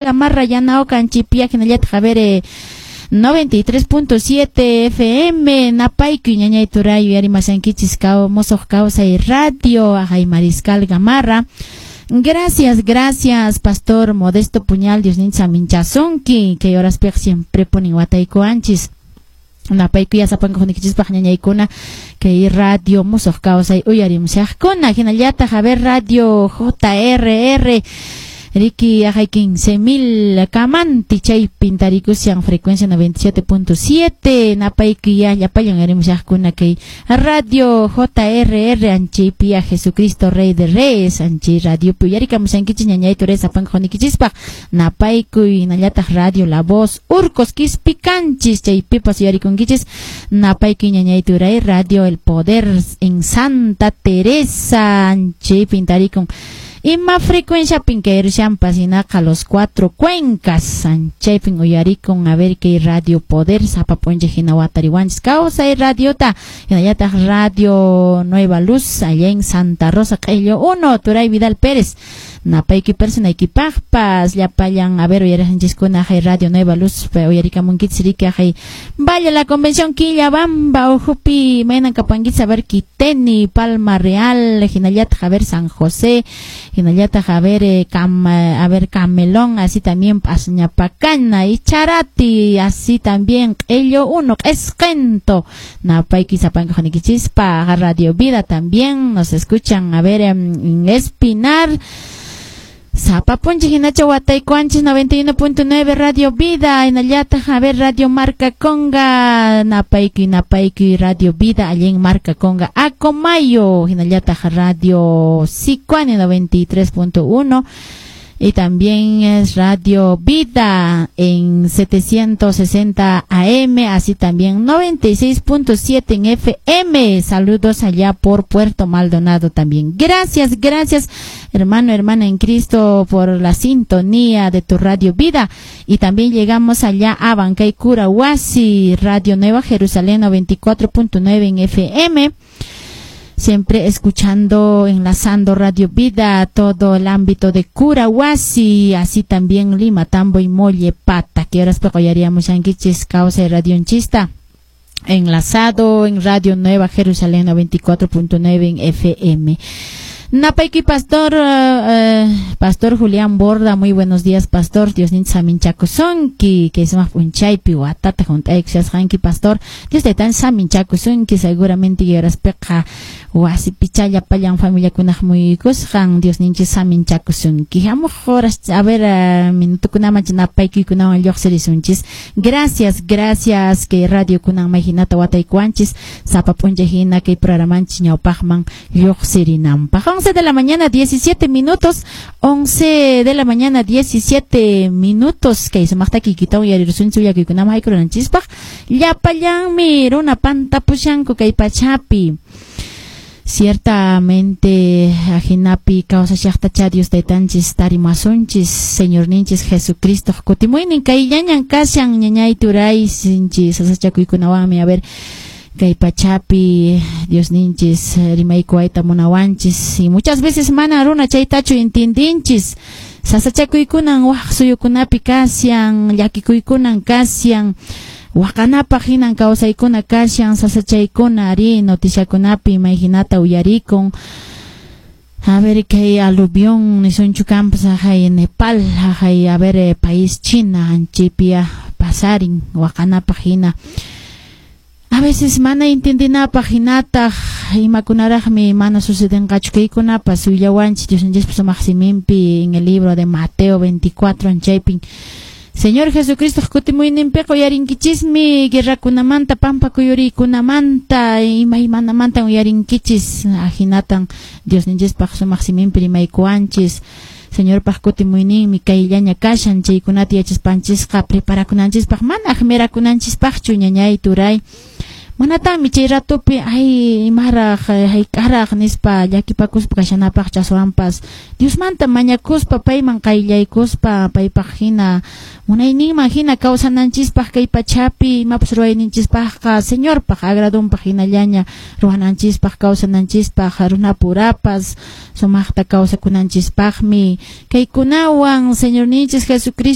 Gamarra Yanaoka Anchipia hinallataq a ver 93.7 FM Napayku ñañay turay uyarimashankichis Mosoq Kawsay Radio Ajay Mariscal Gamarra. Gracias, gracias, Pastor Modesto Puñal, Dios nincha minchasunki, que horas piq siempre ponen wataykuanchis. Napayku yasapanku junikichispaq ñañaykuna kay radio Mosoq Kawsay uyarimushaqkuna hinallataq a ver radio JRR Riki ajay 15.000 kamanti chay pintarikushan frecuencia 97.7 napayku ya llapallan uyarimushaqkuna kay radio JRR anchaypia Jesucristo Rey de Reyes anchay radio uyarikamushankichis ñañay turay sapanka junikichispaq napayku hinallataq radio La Voz Urcos Quispicanchis chaypipas uyarikunkichis napayku ñañay turay radio El Poder en Santa Teresa anchay pintarikun ima frecuencia pinkayrshampas hinaqa los cuatro cuencas chaypin uyarikun a ver kay radio Poder sapa p'unchay hina watariwanchis kawsay radiota hinallataq radio Nueva Luz allá en Santa Rosa Q'illo 1 Turay Vidal Pérez napayki personaykipaqpas llapallan a ver uyariqninchiskuna hay radio Nueva Luz uyarikamunkichis riki hay Valle la Convención Quillabamba ujupi maynan kapankichis a ver Kiteni Palma Real hinallataq a ver San José hinallataq a ver a ver Camelón así también Pasñapacana y Charati así también Q'illo 1 Q'esqento napayki sapanka junikichispa Radio Vida también nos escuchan a ver en Espinar Zapapunchi hinacha wataykuanchis 91.9 Radio Vida hinallataq a ver Radio Marca Conga napaykuy napaykuy Radio Vida allá en Marca Conga Acomayo hinallataq Radio Sicuani 93.1 y también es Radio Vida en 760 AM, así también 96.7 en FM. Saludos allá por Puerto Maldonado también. Gracias, gracias, hermano, hermana en Cristo, por la sintonía de tu Radio Vida. Y también llegamos allá a Bancay Curahuasi, Radio Nueva Jerusalén 94.9 en FM. Siempre escuchando, enlazando Radio Vida, todo el ámbito de Curahuasi, así también Lima, Tambo y Mollepata, que ahora pegoyaríamos yanquichis, causa de Radio Enchista, enlazado en Radio Nueva Jerusalén 94.9 en FM. Napayki Pastor, Pastor Julián Borda, muy buenos días, Pastor. Dios nincha saminchakusunki, que es más punchaypi, watata juntaykushasqanki, Pastor. Dios taytan saminchakusunki, seguramente yoraspiqa wasi pichalla pallan familiakunaq muyuykusqan, Dios ninchis saminchakusunki. Hamuq horas, a ver, minutukunaman napaykuykunawan lluqsirisunchis. Gracias, gracias, que radio kunan mayhinata wataykuwanchis, sapa p'unchay hina kay programanchis ñawpaqman lluqsirinanpaq. 11 de la mañana 17 minutos, 11 de la mañana 17 minutos, kay sumaqta kikitawan uyarirusunchis willakuykunaman haykurunanchispaq, llapallanmi runa pantapushanku kay pachapi. Ciertamente ajinapi kawsashaqtacha Dios taytanchis tarimasunchis Señorninchis Jesucristo kutimuynin kayllañan kashan ñañay turay sinchi sasachakuykunawanmi a ver kay pachapi Dios ninchis rimaykuwayta munawanchis y muchas veces mana runa chaytachu intindinchis sasachakuykunan waq suyukunapi kashan llakikuykunan kashan waqanapaq hinan kawsaykuna kashan sasachaykuna ari noticiakunapi mayhinata uyarikun a ver kay aluvión nisunchu kampas ajay Nepal ajay a ver país China anchipia pasarin waqanapaq hina. A veces mana intendinapaq hinataq imakunaraqmi mana sucedenqachu kaykunapas willawanchis Dios ninchispa sumaq siminpi en el libro de Mateo 24 anchaypin Señor Jesucristo kutimuyninpiqa uyarinkichismi guerrakunamanta pampa kuyuriykunamanta imaymanamanta uyarinkichis ahinatan Dios ninchispaq sumaq siminpi rimaykuwanchis Señorpaq kutimuyninmi kayllaña kashan chaykunata yachaspanchisqa preparakunanchispaq mana aqmirakunanchispaqchu ñañay turay. Manataqmi chay ratupi ay imaraq hayk'araq nispa llakipakuspa kashanapaq, aswanpas Diosmanta mañakuspa, payman qayllaykuspa, paypaq hina munayninman hina kawsananchispaq, kay pachapi imapas ruwayninchispaqqa Señorpaq agradonpaq hinallaña ruwananchispaq, kawsananchispaq, runapurapas sumaqta kawsakunanchispaqmi kaykunawan Señorninchis Jesucristo.